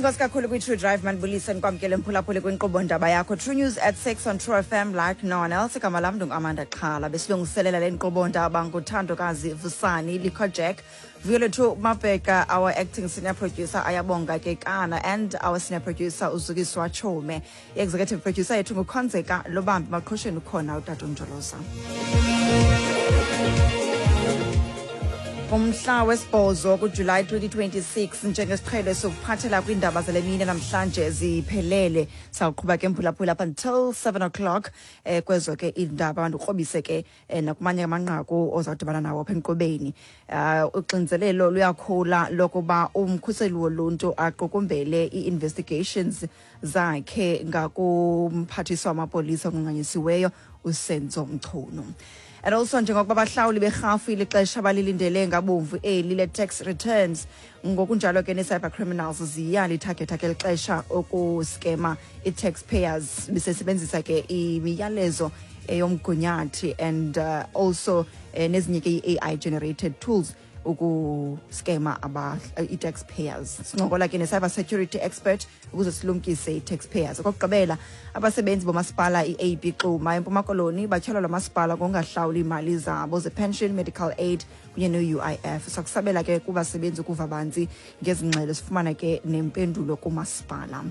Enkosi kakhulu kwi-True Drive, mandibulise ndikwamkele mphulaphuli kwinkqubo ndaba yakho True News at 6 on True FM like no one else. Igama lam ndinguAmanda Xhala. Besilungiselela le nkqubo ndaba nguthandokazi Vusani Likho Jack, Vuyolwethu Mabheka, our acting senior producer Ayabonga Kekana, and our senior producer uZukiswa Chome. I-executive producer yethu nguKhonzeka Lobambi. Maqhosheni ukhona utata uNjoloza. Umhla wesibhozo kuJulayi 2026, njengesiqhelo sokuphathela kwiindaba zale mini namhlanje ziphelele. Sawuqhuba ke mphulaphula up until 7 o'clock kwezo ke iindaba, ndikrobise ke nakumanye amanqaku ozawudibana nawo apha enkqubeni. Uxinzelelo luyakhula lokuba umkhuseli woluntu aqukumbele ii-investigations zakhe ngakumphathiswa wamapolisa onqunqanyisiweyo uSenzo Mchunu. And also, njengokuba abahlawuli berhafu ilixesha balilindele ngabomvu eli le-tax returns, ngokunjalo ke nee-cyber criminals ziyalithagetha ke lixesha ukuskema i-taxpayers besebenzisa ke imiyalezo eyomgunyathi and also nezinye ke i-AI generated tools ukuskema i-taxpayers. Sincokola ke ne-cyber security expert ukuze silumkise i-taxpayers. Okokugqibela, abasebenzi bomasipala i-AB Xuma eMpuma Koloni batyholwa lo masipala ngokungahlawuli iimali zabo ze-pension, medical aid kunye ne-UIF. Sakusabela ke kubasebenzi ukuva banzi ngezi ngxelo, sifumana ke nempendulo kumasipala.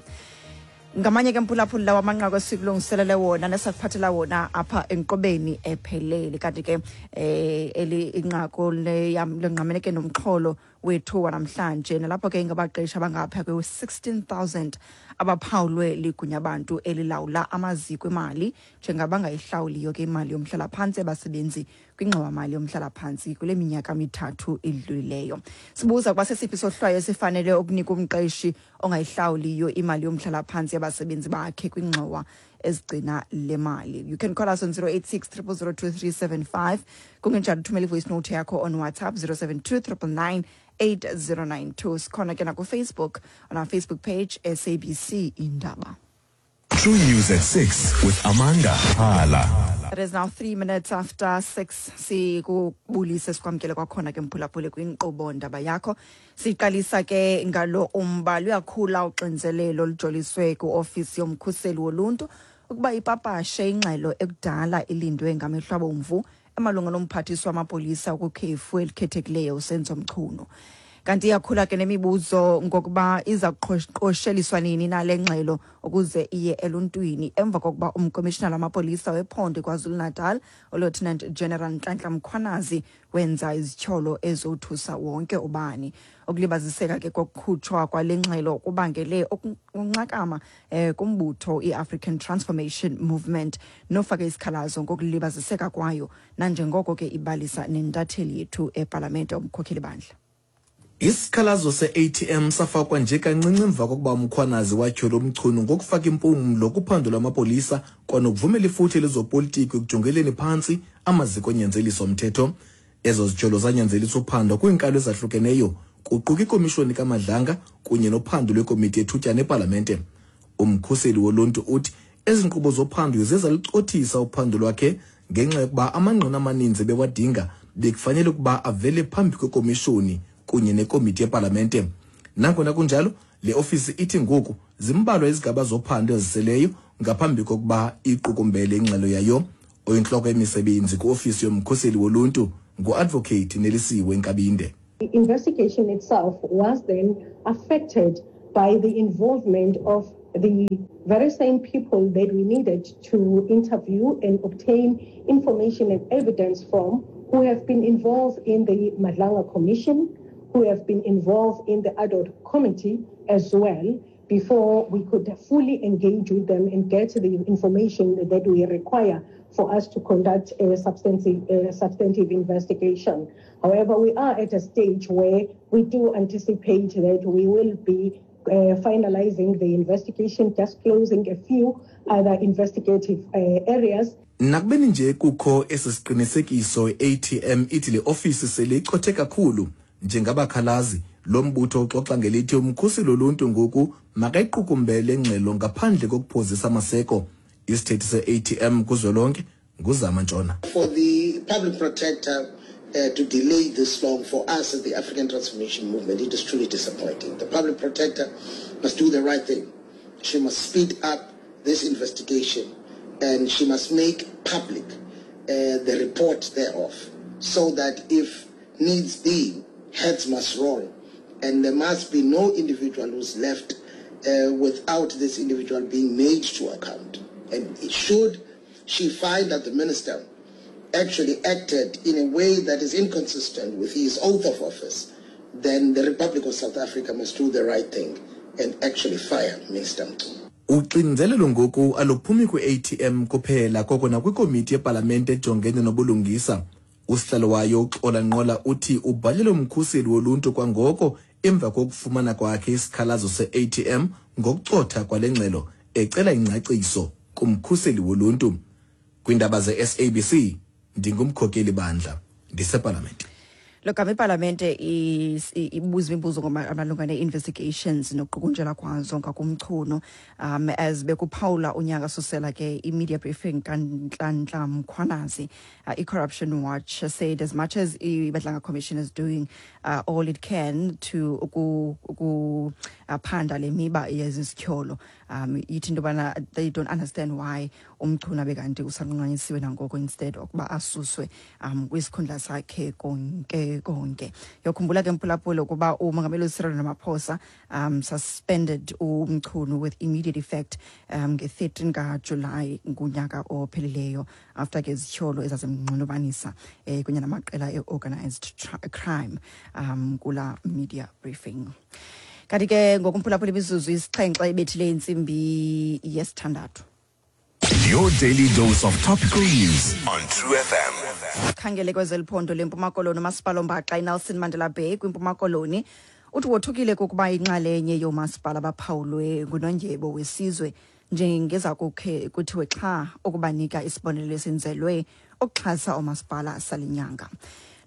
Ngamanye ke mphulaphuli lawo amanqaku esikulungiselele wona nesakuphathela wona apha enkqubeni ephelele. Kanti ke eli inqaku lengqamene ke nomxholo wethu wanamhlanje, nalapho ke ingabaqeshi abangapha kwe-16 000 abaphawulwe ligunyabantu elilawula amaziko emali njengabangayihlawuliyo ke imali yomhlalaphantsi abasebenzi kwingxowamali yomhlalaphantsi kule minyaka 3 idlulileyo. Sibuza ukuba sesiphi isohlwayo esifanele ukunika umqeshi ongayihlawuliyo imali yomhlalaphantsi yabasebenzi bakhe kwingxowa ezigcina le mali. You can call us on 086 0002375, kungenjalo uthumela ivoice note yakho on WhatsApp 072 999 8092. Sikhona ke nakuFacebook, on our Facebook page, SABC Indaba. True News at 6 with Amanda Hala. It is now 3 minutes after 6. Sikubulise, sikwamkele kwakhona ke mphulaphuli kwinkqubo ndaba yakho. Siqalisa ke ngalo umba. Luyakhula uxinzelelo olujoliswe kwiofisi yomkhuseli woluntu ukuba ipapashe ingxelo ekudala ilindwe ngamehlo abomvu emalunga nomphathiswa wamapolisa kwikhefu elikhethekileyo uSenzo Mchunu. Kanti iyakhula ke nemibuzo ngokuba iza kuqosheliswa nini nale ngxelo ukuze iye eluntwini, emva kokuba umkomishinala wamapolisa wephondo KwaZulu-Natal uLieutenant General Nhlanhla Mkhwanazi wenza izityholo ezothusa wonke ubani. Ukulibaziseka ke kokukhutshwa kwale ngxelo kubangele ukunxakama kumbutho i-African Transformation Movement nofake isikhalazo ngokulibaziseka kwayo, nanjengoko ke ibalisa nentatheli yethu epalamente uMkhokheli Bandla. Isikhalazo se-ATM safakwa nje kancinci emva kokuba uMkhwanazi watyhola uMchunu ngokufaka impumlo kuphando lwamapolisa kwanokuvumela ifuthe lezopolitiko ekujongeleni phantsi amaziko onyanzeliso mthetho. Ezo zityholo zanyanzelisa uphando kwiinkalo ezahlukeneyo, kuquka ikomishoni kaMadlanga kunye nophando lwekomiti yethutyana epalamente. Umkhuseli woluntu uthi ezi nkqubo zophando ziye zalucothisa uphando lwakhe ngenxa yokuba amangqina amaninzi ebewadinga bekufanele ukuba avele phambi kwekomishoni kunye nekomiti yepalamente. Nangona kunjalo, le ofisi ithi ngoku zimbalwa izigaba zophando eziseleyo ngaphambi kokuba iqukumbele ingxelo yayo. Oyintloko yemisebenzi kwiofisi yomkhuseli woluntu nguadvocate Nelisiwe Nkabinde. The investigation itself was then affected by the involvement of the very same people that we needed to interview and obtain information and evidence from, who have been involved in the Madlanga Commission, who have been involved in the ad hoc committee as well, before we could fully engage with them and get the information that we require for us to conduct a substantive investigation. However, we are at a stage where we do anticipate that we will be finalizing the investigation, just closing a few other investigative areas. Nakubeni nje kukho esi siqinisekiso, i-ATM ithi le ofisi sele icothe kakhulu. Njengabakhalazi, lo mbutho uxoxa ngelithi umkhuseli woluntu ngoku makayiqukumbele ingxelo ngaphandle kokuphozisa amaseko. Isithethi se-ATM kuzwelonke nguZama Ntshona. For the public protector, To delay this long for us as the African Transformation Movement, it is truly disappointing. The public protector must do the right thing. She must speed up this investigation and she must make public the report thereof, so that if needs be, heads must roll, and there must be no individual who's left without this individual being made to account. And should she find that the minister actually acted in a way that is inconsistent with his oath of office, then the Republic of South Africa must do the right thing and actually fire Minister Mchunu. Uxinzelelo ngoku aluphumi kwi-ATM kuphela, koko nakwikomiti yepalamente ejongene nobulungisa. Usihlalo wayo uXola Nqola uthi ubhalele umkhuseli woluntu kwangoko emva kokufumana kwakhe isikhalazo se-ATM ngokucotha kwale ngxelo, ecela ingcaciso kumkhuseli woluntu. Kwiindaba ze-SABC, ndingumkhokeli bandla ndisepalamente. Lo gama ipalamente ibuza imibuzo malunga nee-investigations nokuqukunjelwa kwazo ngakuMchunu, as bekuphawula unyaka susela ke i-media briefing kaNhlanhla Mkhwanazi, i-Corruption Watch said as much as i-Madlanga Commission is doing all it can to ukuphanda le miba yezizityholo, ithi into yobana they don't understand why uMchunu abe kanti usanqunqanyisiwe nangoko instead okuba asuswe kwisikhundla sakhe konke konke. Yokhumbula ke, mphulaphula, ukuba umongameli uCyril Ramaphosa suspended uMchunu with immediate effect nge-13 kaJulayi ngunyaka ophelileyo, after ke izityholo ezazimnxulumanisa kunye namaqela e-organized crime kula media briefing. Kanti ke ngokumphulaphula, imizuzu 7 ibethile intsimbi yesithandathu. Your daily dose of topical news on True FM. Khangele kwezeliphondo leMpuma Koloni, umasipala ombaxa iNelson Mandela Bay kwiMpuma Koloni uthi wothukile kukuba inxalenye yoomasipala baphawulwe ngunondyebo wesizwe njengeza kukhe kuthiwe xha ukubanika isibonelelo esenzelwe ukuxhasa oomasipala sale nyanga.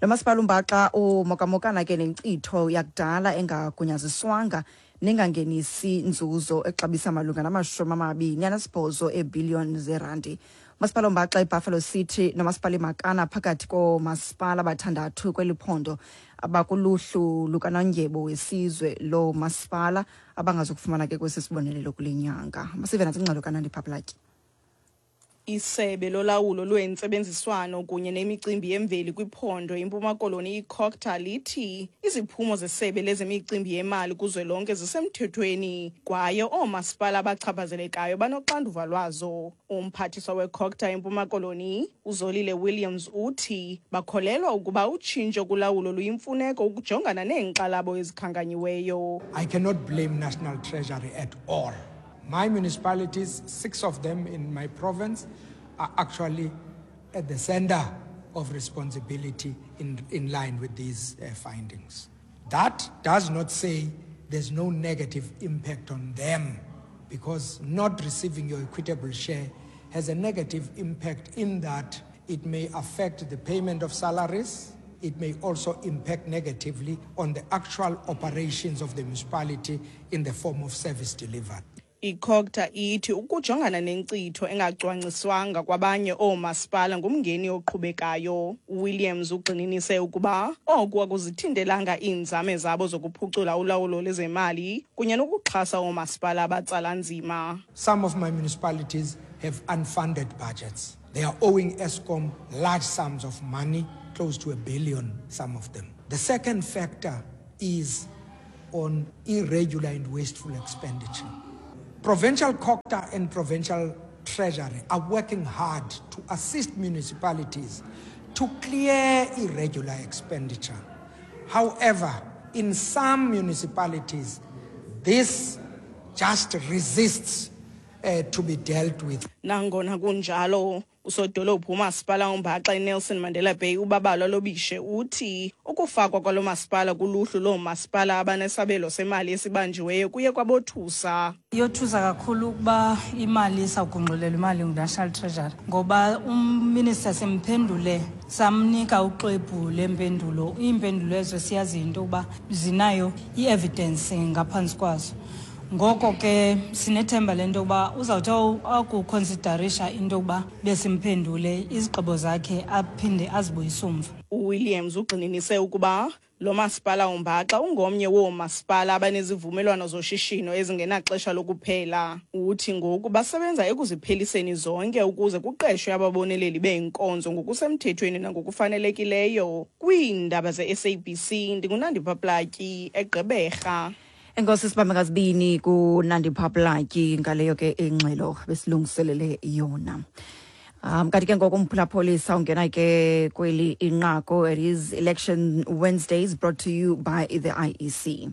Lo masipala umbaxa umokamokana ke nenkcitho yakudala engagunyaziswanga nengangenisi nzuzo exabisa malunga nama-28 eebhiliyoni zeerandi. Umasipala ombaxa iBuffalo City nomasipala iMakana phakathi koomasipala abathandathu kweli phondo abakuluhlu lukanondyebo wesizwe lo masipala abangazukufumana ke kwesi sibonelelo kule nyanga. Masive nantsi ingxelo kaNandi Phaplaki. Isebe lolawulo lwentsebenziswano kunye nemicimbi yemveli kwiphondo iMpuma Koloni, iCogta, lithi iziphumo zesebe lezemicimbi yemali kuzwelonke zisemthethweni kwaye oomasipala abachaphazelekayo banoxanduva lwazo. Umphathiswa weCogta eMpuma Koloni, uZolile Williams, uthi bakholelwa ukuba utshintsho kulawulo luyimfuneko ukujongana neenkxalabo ezikhankanyiweyo. I cannot blame National Treasury at all. My municipalities, six of them in my province, are actually at the center of responsibility in line with these findings. That does not say there's no negative impact on them, because not receiving your equitable share has a negative impact in that it may affect the payment of salaries. It may also impact negatively on the actual operations of the municipality in the form of service delivered. ICogta ithi ukujongana nenkcitho engacwangciswanga kwabanye oomasipala ngumngeni oqhubekayo. Williams ugxininise ukuba oku akuzithintelanga iinzame zabo zokuphucula ulawulo lezemali kunye nokuxhasa oomasipala abatsala nzima. Some of my municipalities have unfunded budgets. They are owing Eskom large sums of money, close to a billion, some of them. The second factor is on irregular and wasteful expenditure. Provincial COGTA and Provincial Treasury are working hard to assist municipalities to clear irregular expenditure. However, in some municipalities, this just resists to be dealt with. Nangona kunjalo, usodolophu umasipala ombaxa iNelson Mandela Bay uBabalwa Lobishe uthi ukufakwa kwalo masipala kuluhlu loomasipala abanesabelo semali esibanjiweyo kuye kwabothusa. Iyothusa kakhulu ukuba imali isawugungxulelwa imali nguNational Treasury, ngoba uminister simphendule, samnika uxwebhu lempendulo. Iimpendulo ezo siyaziyo into yokuba zinayo i-evidence ngaphantsi kwazo. Ngoko ke sinethemba le nto yokuba uzawuthi akukhonsidarisha into yokuba besimphendule, izigqibo zakhe aphinde azibuyise umva. UWilliams ugxininise ukuba lo masipala umbaxa ungomnye woomasipala abanezivumelwano zoshishino ezingenaxesha lokuphela. Uthi ngoku basebenza ekuzipheliseni zonke ukuze kuqeshwe ababoneleli beenkonzo ngokusemthethweni nangokufanelekileyo. Kwiindaba ze-SABC, ndinguNandipha Platyi, eGqeberha. Enkosi, sibambe ngazibini kuNandipha Platyi ngaleyo ke ingxelo besilungiselele yona. Kanti ke ngoku, umphulaphuli, ungena ke kweli inqaku. It is Election Wednesdays, brought to you by the IEC.